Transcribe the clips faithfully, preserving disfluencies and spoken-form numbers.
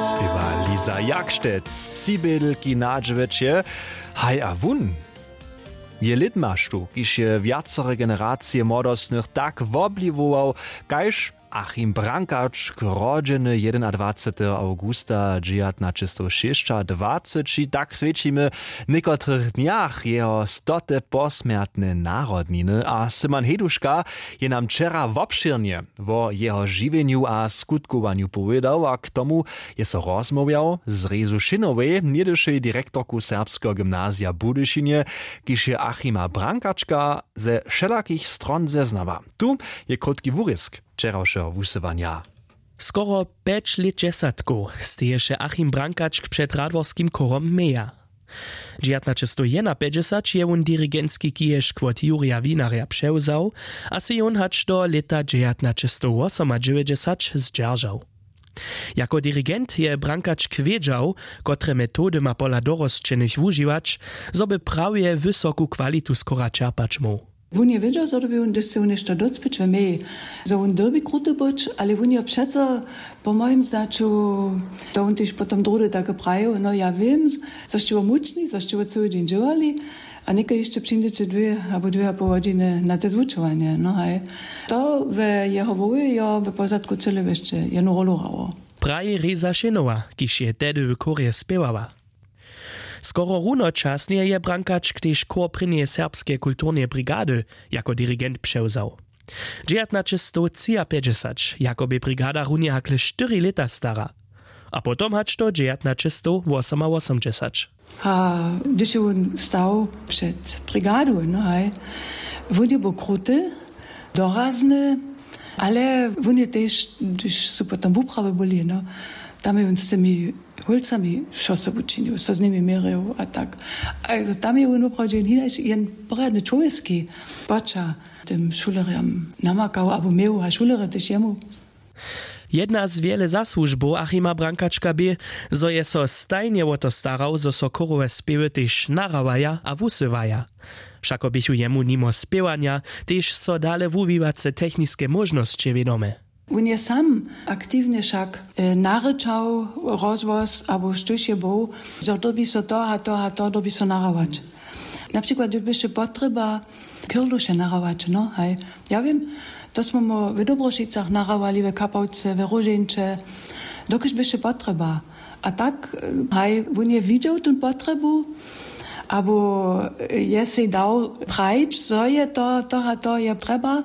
Spěwa Liza Jakštec z Cibědlki na dźewjeće. Haj a wón je lědmaštu, kiž je wjacore generacije młodostnych tak wobliwował, kaž Achim Brankačk, rodźeny jedenadwaceteho awgusta dźewjatnaćestowšěsćadwaceći, tak swědčimy w někotrych dnjach jeho stote posmjertne narodniny. A Simon Heduška je nam wčera wobšěrnje wo jeho žiwjenju a skutkowanju powědał a k tomu je so rozmołwjał z Rezu Šinowej, něhdyšej direktorku Serbskeho gymnazija w Budyšinje, kiž je Achima Brankačka ze wšelakich stron zeznała. Tu je krótki wurězk wčerawšeho wusyłanja. Skoro pjećlětdźesatkow steješe Achim Brankačk před radworskim chórom Meja. Dźewjatnaćestowjedenapjećdźesać je wón dirigentski kiježk wot Jurja Winarja přewzał a sej jón hač do lěta dźewjatnaćestowwosomadźewjećdźesać zdźeržał. Jako dirigent je Brankačk wědźał, kotre metody ma pola dorosćenych wužiwać, zo by prawje wysoku kwalitu skora čerpać móhł. Wón je wědźał, zo dyrbi wón, hdyž chce wón něšto docpěć we meji, zo wón dyrbi kruty być, ale wón je přeco, po mojim znaću, to wón tež potom druhdy take prajił: „No, ja wěm, zo sće wo mučni, zo sće wo cyły dźeń dźěłali, a něko hišće přińdźeće dwě abo dwě a poł hodźiny na te zwučowanje.“ No haj, to we jeho hłowje jo we pozadku cyle wěsće jednu rolu hrało. Praji Reza Šenowa, kiž je tehdy w chórje spěwała. Skoro runočasnje je Brankačk tež chór prěnjeje serbskeje kulturneje brigady jako dirigent přewzał. Dźewjatnaćestowtřiapjećdźesać jako bě brigada runje hakle štyri lěta stara, a potom hač do dźewjatnaćestowwosomawosomdźesać. A hdyž je wón stał před brigadu, no haj, wón je był kruty, dorazny, ale wón je tež, hdyž su potom wuprawy byli, no, tam je wón z tymi hólcami wšo so wučinił, so z nimi měrił a tak. A tam je wón woprawdźe jen, jen porjadny čłowječki poćah tym šulerjam namakał abo měł a šulerjo tež jemu. Jedna z wjele zasłužbow Achima Brankačka bě, zo je so stajnje wo to starał, zo so chórowe spěwy tež nahrawaja a wusyłaja. Wšako běchu jemu nimo spěwanja tež so dale wuwiwace techniske móžnosće wědome. Wón je sam aktiwnje wšak, e, narěčał rozhłos abo štóž je był, zo dyrbi so to a to a to dyrbi so nahrawać. Na přikład, hdyž běše potrjeba Kirluše nahrawać, no haj. Ja wěm, to smy mu w Dobrošicach nahrałali, we Kapałce, we Róžeńće, dokelž běše potrjeba. A tak, e, haj, wón je widźał tón potrjebu, abo, e, je sej dał prajić, zo je to, to a to je trjeba.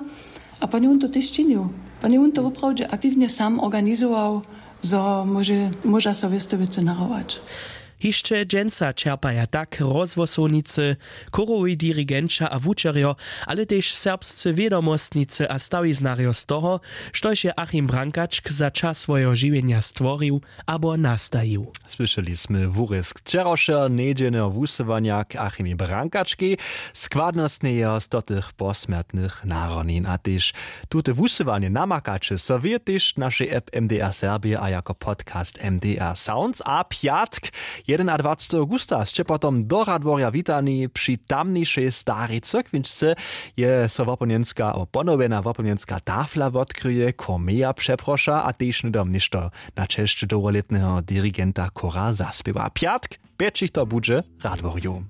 A pón je wón to tež činił. Pón je wón to woprawdźe aktiwnje sam organizował, zo móže, móža so wěste wěcy nahrawać. Hišće dźensa čerpaja tak rozhłosownicy, chórowi dirigenća a wučerjo, ale tež serbscy wědomostnicy a stawiznarjo z toho, štož je Achim Brankačk za čas swojeho žiwjenja stworił abo nastajił. Słyšeli smy wurězk wčerawšeho njedźelneho wusyłanja k Achimej Brankačkej, składnostnje jeho stotych posmjertnych narodnin. A tež tute wusyłanje namakaće so wy tež w našej app M D R Serbije a jako podcast M D R Sounds. A pjatk, jedenadwaceteho awgusta, sće potom do Radworja witani při tamnišej starej cyrkwinčce. Je so wopomnjenska abo ponowjena wopomnjenska tafla wotkryje, chór Meja přeproša a tež hnydom něšto na česć dołholětneho dirigenta chóra zaspěwa. Pjatk, pjećich to budźe w Radworju.